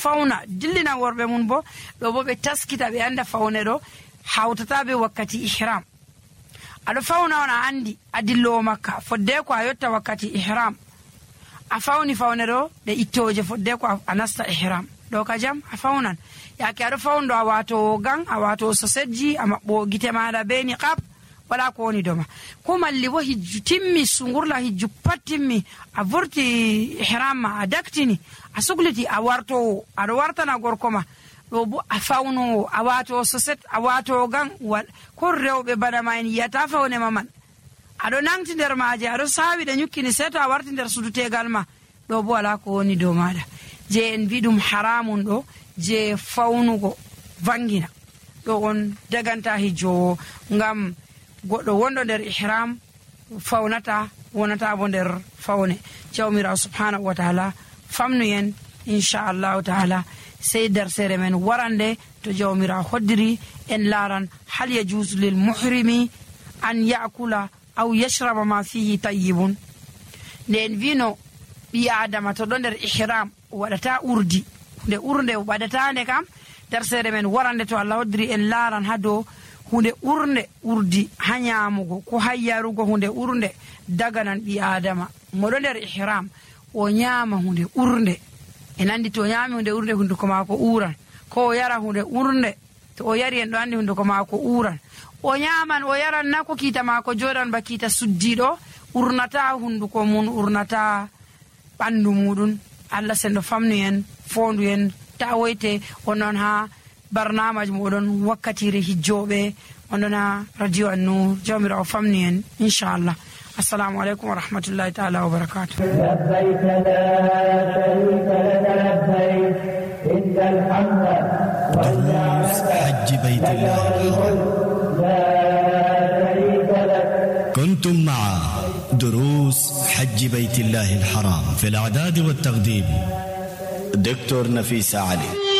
fauna dillina worbe mun bo do bo be taskita be anda faune do hawtata be wakkati ihram. Ado fauna on a andi adillo makka fodde ko ayotta wakkati ihram a fauni faune do de ittoje fodde ko anasta ihram do ka jam a faunan yake ado faundo a wato gang a wato sosejji a mabbo gite maada be niqab wala ko woni doma ko malli wo hijju timmi sungurla hijju patimmi a vurti ihram a daktini a sugliti a warto ado wartana gorkoma do bo a fauno a wato soset a wato gang ko rewbe bana mayni yata faune maman ado nangti der maaje ado sawi de nyukkini seto a warti der sudutegal ma do bo wala ko woni do maada je en bidum haramun do je faunugo vangina do on daganta hijjo ngam goddo wondo der ihram faunata wonata bo der faune jawmira subhanahu wa ta'ala famnu yen inshallah ta'ala sey der sere men warande to jawmira hoddiri en laran hal yajuz lil muhrimi an ya'kula aw yashraba ma fihi tayyibun nen vino bi adama to don der ihram wadata urdi de urde wadata ne kam der sere men warande to Allah hoddiri en laran hado hunde urde urdi hanyamugo ko hayyarugo hunde urde daganan bi adama modo der ihram o nyama hunde urde en andi to nyami hunde urde hunde ko mako uran ko yara hunde urde to o yari en do andi hunde ko mako uran o nyaman o yaran nako kita mako jodan ba kita suddido urnata hunde ko mun urnata bandu mudun Allah sendo famnu en fondu en tawoyte onon ha barnamaj modon wakkatire hijjobe onona radio an-nur jawmira famni en inshallah. Assalamu alaikum wa rahmatullahi ta'ala wa barakatuh. labbayk la sharika lak labbayk innal hamda wal ni'mata hajj baytillah la sharika lak. كنتم مع دروس حج بيت الله الحرام في الإعداد والتقديم دكتور نفيس علي.